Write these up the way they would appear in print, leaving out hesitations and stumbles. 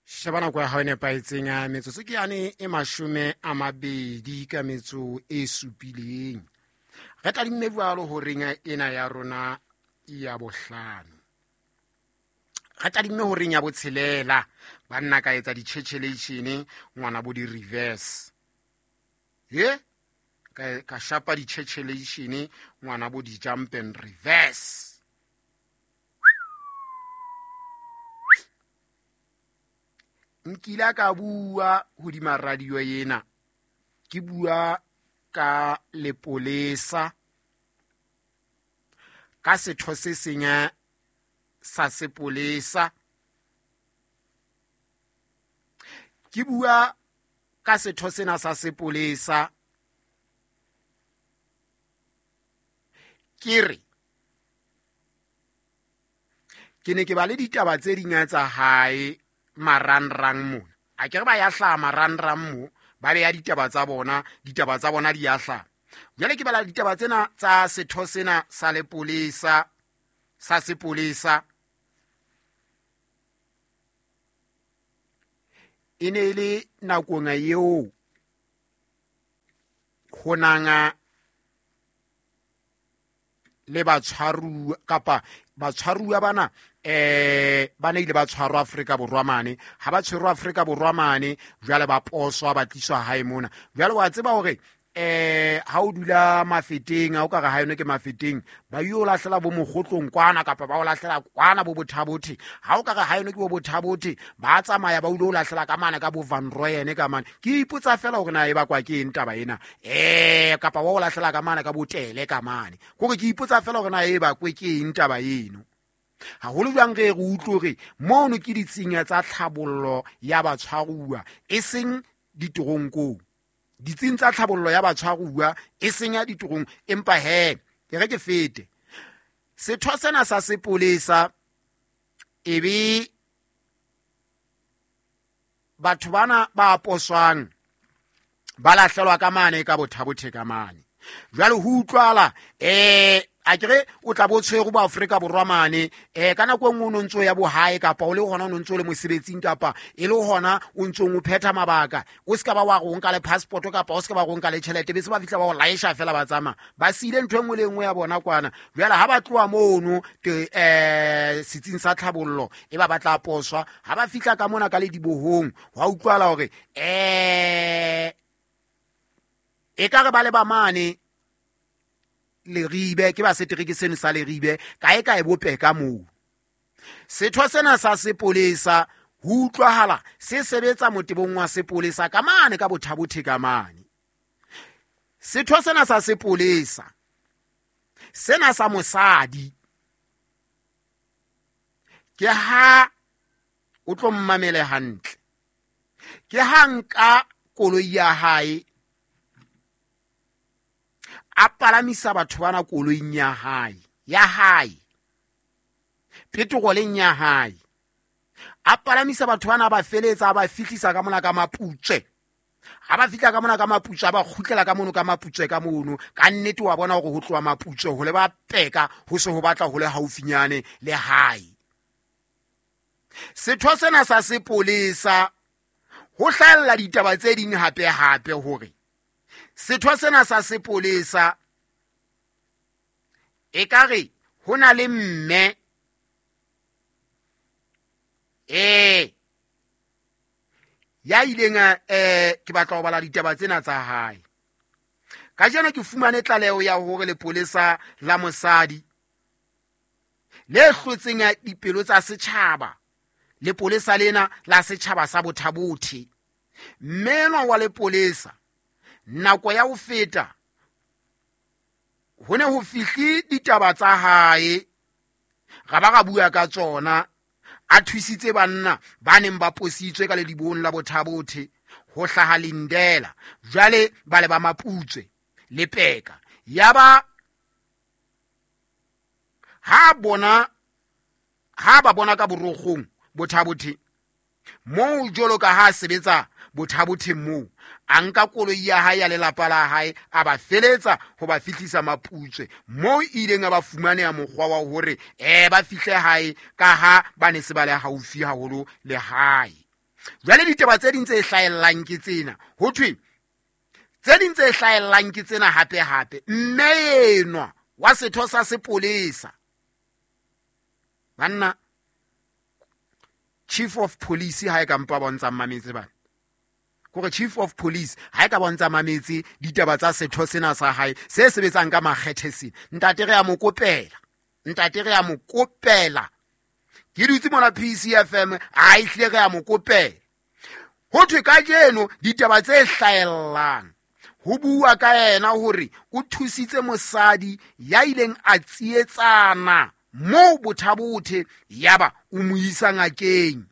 Sheba nako ya hao e nepahetseng a metsotso ke yane e 27. Re tadimme jwalo horeng ena ya rona ya bohlano. Re tadimme horeng ya botshelela, banna ka etsa ditjhetjhelation ngwana bo di-reverse. Ye ka shapa ditjhetjhelation ngwana bo di-jump and reverse. Nkile ka bua hodima radio ena, ke bua ka lepolesa, ka setho se seng sa sepolesa, ke bua ka setho sena sa sepolesa, ke re ke ne ke ba le ditaba tse ding tsa hae marangrang mona. A ke re ba ya hlaha marangrang mo, ba beya ditaba tsa bona, ditaba tsa bona di ya hlaha. Jwale ke bala ditaba tsena tsa setho sena sa lepolesa, sa sepolesa. E ne e le nakong eo ho nang le batshwaruwa kapa batshwaruwa bana ba ne ile ba tshwarwa Afrika Borwa mane. Ha ba tshwerwa Afrika Borwa mane, jwale ba poswa, ba tliswa hae mona. Jwale wa tseba hore ha o dula Mafeteng, ha o ka re ha yone ke Mafeteng, ba yo lahlela bo Mokgotlong kwana kapa ba o lahlela kwana bo Bothabothe. Ha o ka re ha yone ke bo Bothabothe, ba tsamaya ba o lo lahlela ka mane ka bo Van Rooyen ka mane. Ke ipotsa fela hore na e bakwa ke eng taba ena. Kapa ba o lahlela ka mane ka bo Tele ka mane. Kore ke ipotsa fela hore na e bakwe ke eng taba eno. Haholo jwang re re utlwe hore mono ke ditsing tsa tlhabollo ya batshwaruwa, e seng ditoronkong. Ditsing tsa tlhabollo ya batshwaruwa, e seng ya ditorong, empa he, ke re ke fete. Setho sena sa sepolesa e be batho bana ba poswang ba lahlelwa ka mane ka Bothabothe ka mane. Jwale ho utlwala, a ke re o tla bo tshwere bo Afrika Borwa mane, ka nako e nngwe o no ntso ya bohae kapa o le hona o no ntso le mosebetsing kapa e le hona o ntsong o phetha mabaka, o se ka ba wa re o nka le passport kapa o se ka ba re o nka le tjhelete, be se ba fihla ba o laesha fela ba tsamaya. Ba siile ntho e nngwe le e nngwe ya bona kwana. Jwale ha ba tloha mono te, setsing sa tlhabollo e ba ba tla poswa, ha ba fihla ka mona ka ledibohong, hwa utlwala hore, e ka re ba le ba mane Leribe, ke ba setereke seno sa Leribe, kae kae bo Peka moo. Setho sena sa sepolesa ho utlwahala se sebetsa motebong wa sepolesa ka mane ka Bothabothe ka mane. Setho sena sa sepolesa sena sa mosadi ke ha o tlo mmamele hantle, ke ha nka koloi ya hae a palamisa batho bana koloing ya hae, ya hae, petroleng ya hae, a palamisa batho bana, ba feletsa, a ba fihlisa ka mona ka Maputswe. Ha ba fihla ka mona ka Maputswe, a ba kgutlela ka mono ka Maputswe ka mono. Ka nnete wa bona hore ho tloha Maputswe ho le ba Peka, ho se ho batla ho le haufinyane le hae. Setho sena sa sepolesa ho hlahella ditaba tse ding hape hape hore setho sena sa sepolesa ekare ho na le mme ya ileng a, ke batla ho bala ditaba tsena tsa hae. Kajeno ke fumane tlaleho ya hore lepolesa la mosadi le hlotseng dipelo tsa setjhaba, lepolesa lena la setjhaba sa Bothabothe, mme enwa wa lepolesa nako ya ho feta ho ne ho fihle ditaba tsa hae, ra ba ra bua ka tsona, a thusitse banna ba neng ba positswe ka ledibong la Bothabothe ho hlaha Lindela, jwale ba le ba Maputswe le Peka. Yaba ha ba bona ka borokgong Bothabothe moo, jwalo ka ha a sebetsa Bothabothe moo, a nka koloi ya hae ya lelapa la hae, a ba feletsa ho ba fihlisa Maputswe moo ileng a ba fumaneha mokgwa wa hore, ba fihle hae ka ha ba ne se ba le haufi haholo le hae. Jwale ditaba tse ding tse hlahellang ke tsena, ho thwe tse ding tse hlahellang ke tsena hape hape, mme enwa wa setho sa sepolesa, banna, chief of police ha e ka mpa bontsha mametse bana, kore chief of police ha e ka bontsha mametse ditaba tsa setho sena sa hae se sebetsang ka makgethe sena. Ntate re a mo kopela, ntate re a mo kopela, ke dutse mona PCFM, a ehlile re a mo kopela. Ho thwe kajeno ditaba tse hlahellang ho bua ka yena hore o thusitse mosadi ya ileng a tsietsana moo Bothabothe, yaba o mo isa ngakeng.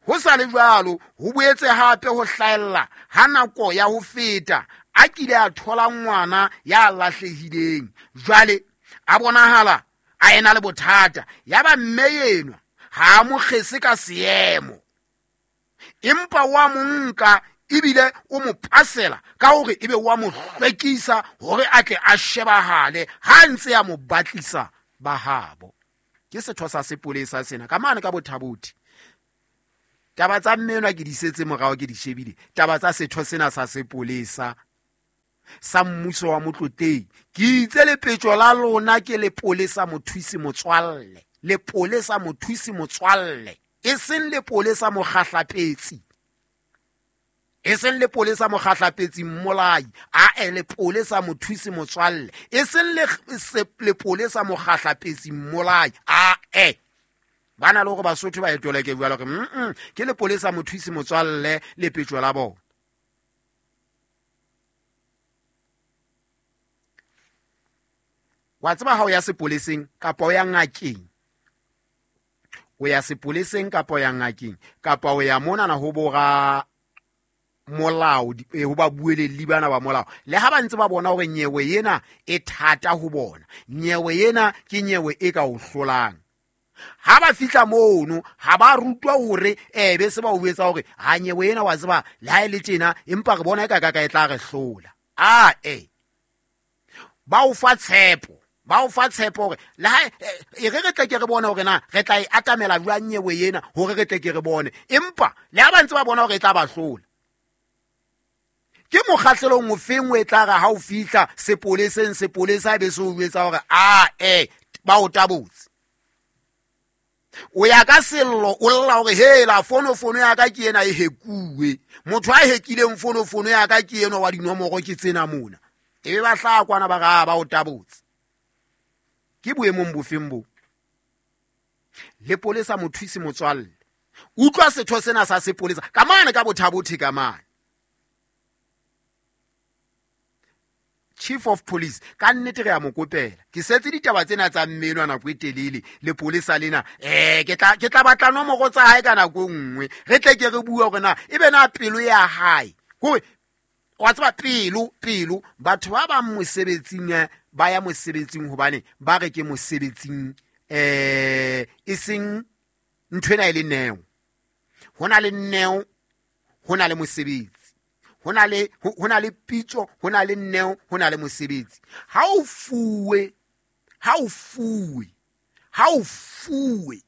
Ho sa le jwalo, ho boetse hape ho hlahella ha nako ya ho feta a kile a thola ngwana ya lahlehileng, jwale a bonahala a ena le bothata, yaba mme enwa ha a mo kgese ka seemo, empa wa mo nka ebile o mo pasela ka hore ebe wa mo hlwekisa hore a tle a shebahale ha ntse a mo batlisa ba habo. Ke setho sa sepolesa sena ka mane ka Bothabothi. Taba tsa mme enwa ke di setse morao, ke di shebile. Taba tsa setho sena sa sepolesa sa mmuso wa Motlotleng, ke itse lepetjo la lona ke lepolesa mothusi motswalle, lepolesa mothusi motswalle, e seng lepolesa mokgahlapetsi, e seng lepolesa mokgahlapetsi mmolai, ae lepolesa mothusi motswalle, e seng lepolesa mokgahlapetsi mmolai, ae. Ba na le hore Basotho ba etoleke jwalo hore ke lepolesa mothusi motswalle lepetjo la bona. Wa tseba ha o ya sepoleseng kapa o ya ngakeng, o ya sepoleseng kapa o ya ngakeng kapa o ya monana ho bora molao, ho ba buelelli bana ba molao, le ha ba ntse ba bona hore nyewe ena e thata ho bona, nyewe ena ke nyewe e ka o hlolang. Ha ba fihla mono ha ba rutwa hore be se ba o etsa hore ha nyewe ena wa tseba le ha e le tjena, empa re bona e ka ka e tla re hlola. Ae, ba o fa tshepo, ba o fa tshepo hore le ha e re re tle ke re bone hore na re tla e atamela jwang nyewe ena hore re tle ke re bone, empa le ha ba ntse ba bona hore e tla ba hlola. Ke mokgahlelong ofeng o e tla re ha o fihla sepoleseng, sepolesa be se o jwetsa hore ae ba o tabotse. O ya ka sello o lla hore hela fonofono ya ka ke ena e hekuwe, motho a hekileng fonofono ya ka ke enwa wa dinomoro ke tsena mona, ebe ba hlaha kwana ba re a ba o tabotse. Ke boemong bofeng bo? Lepolesa mothusi motswalle, utlwa setho sena sa sepolesa ka mane ka Bothabothe ka mane. Chief of Police ka nnete re a mo kopela. Ke setse ditaba tsena tsa mmenwa nako e telele lepolesa lena, ke tla batla nomoro tsa hae ka nako e nngwe, re tle ke re bue hore na ebe na pelo ya hae kore wa tseba pelo, pelo batho ba bang mosebetsing ba ya mosebetsing hobane ba re ke mosebetsing, e seng ntho ena e le neo. Ho na le neo, ho na le mosebetsi, ho na le, ho na le pitso, ho na le neo, ho na le mosebetsi. Ha o fuwe, ha o fuwe, ha o fuwe,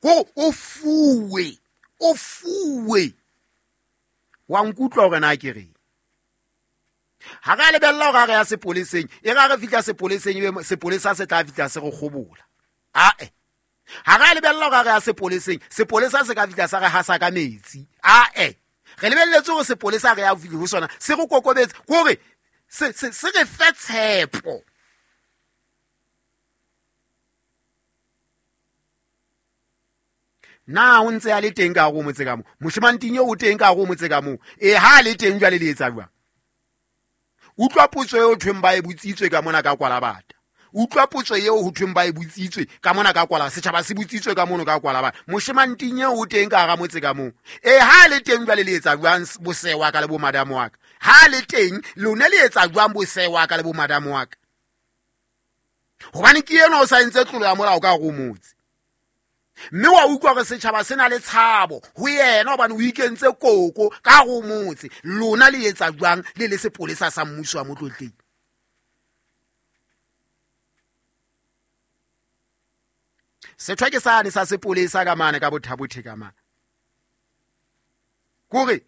o, o fuwe, o fuwe, wa nkutlwa hore na ke reng? Ha re a lebella hore ha re ya sepoleseng, e re ha re fihla sepoleseng, ebe sepolesa se tla fihla se re kgobola. Ae. Ha re a lebella hore ha re ya sepoleseng, sepolesa se ka fihla sa re hasa ka metsi. Ae. Re lebelletse hore sepolesa re ya fihla ho sona, se re kokobetse, ke hore se re fe tshepo. Na o ntse a le teng ka hare ho motse ka moo? Moshemanting eo o teng ka hare ho motse ka moo? E, ha a le teng jwale le etsa jwang? Utlwa potso eo thweng ba e botsitswe ka mona ka Kwalabata. Utlwa potso eo ho thweng ba e botsitswe ka mona ka Kwala, setjhaba se botsitswe ka mono ka Kwalabata. Moshemanting eo o teng ka hara motse ka moo. E, ha a le teng jwale le etsa jwang bosewa ka le bo madamo wa ka? Ha a le teng, lona le etsa jwang bosewa ka le bo madamo wa ka? Hobane ke enwa o sa entse tlolo ya molao ka hare ho motse. Mme wa utlwa hore setjhaba se na le tshabo ho yena hobane o ikentse koko ka hare ho motse. Lona le etsa jwang le le sepolesa sa mmuso wa Motlotleng? Setho ke sane sa sepolesa ka mane ka Bothabothe ka mane. Kore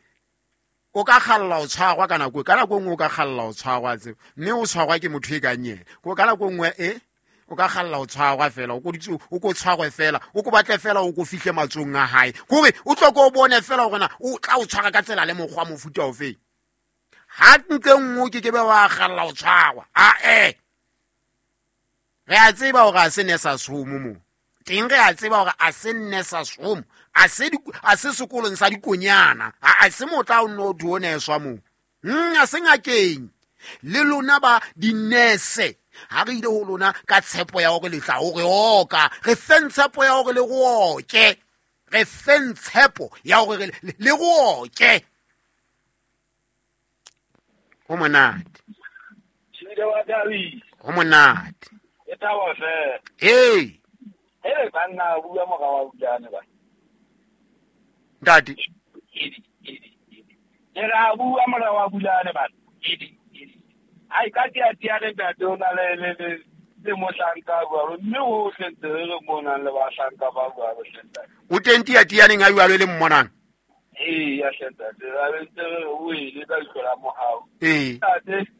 o ka kgalla o tshwarwa ka nako, ka nako e nngwe o ka kgalla o tshwarwa tseo, mme o tshwarwa ke motho e kang yena. Ko ka nako e nngwe e o ka kgalla o tshwarwa fela, o ko ditse, o ko tshwarwe fela, o ko batle fela, o ko fihle matsong a hae. Kore o tlo ko o bone fela gore na o tla o tshwara ka tsela le mokgwa mofuta ofeng. Ha ntle nngwe o ke ke be wa kgalla o tshwarwa. A re a tseba gore a se ne sa somo mo teng, re a tseba gore a se nne sa somo, a se a se sekolong sa dikonyana, a se motla o nne o thu o neswa mo. A se ngakeng le lona ba dinese. Ha re ile ho lona ka tshepo ya hore le tla o re oka, re feng tshepo ya hore le go oke, re feng tshepo ya hore le go oke. Ho monate, ho monate. E thaba fela. Ee. Ee, banna, bua mora wa Bulane ba. Ntate. Edi, edi, edi. Ke ra bua mora wa Bulane ba. Edi, edi. Ai ka tia tia le ntate o na le le le le mohlanka jwalo, mme hohle ntse re re mo nang le bahlanka ba jwalo hle ntate. O teng tia tianeng a jwalo e le mmonang? Ee, ya hle ntate, ra be ntse re re o ele ka leihlo la mohau. Ee. Ntate.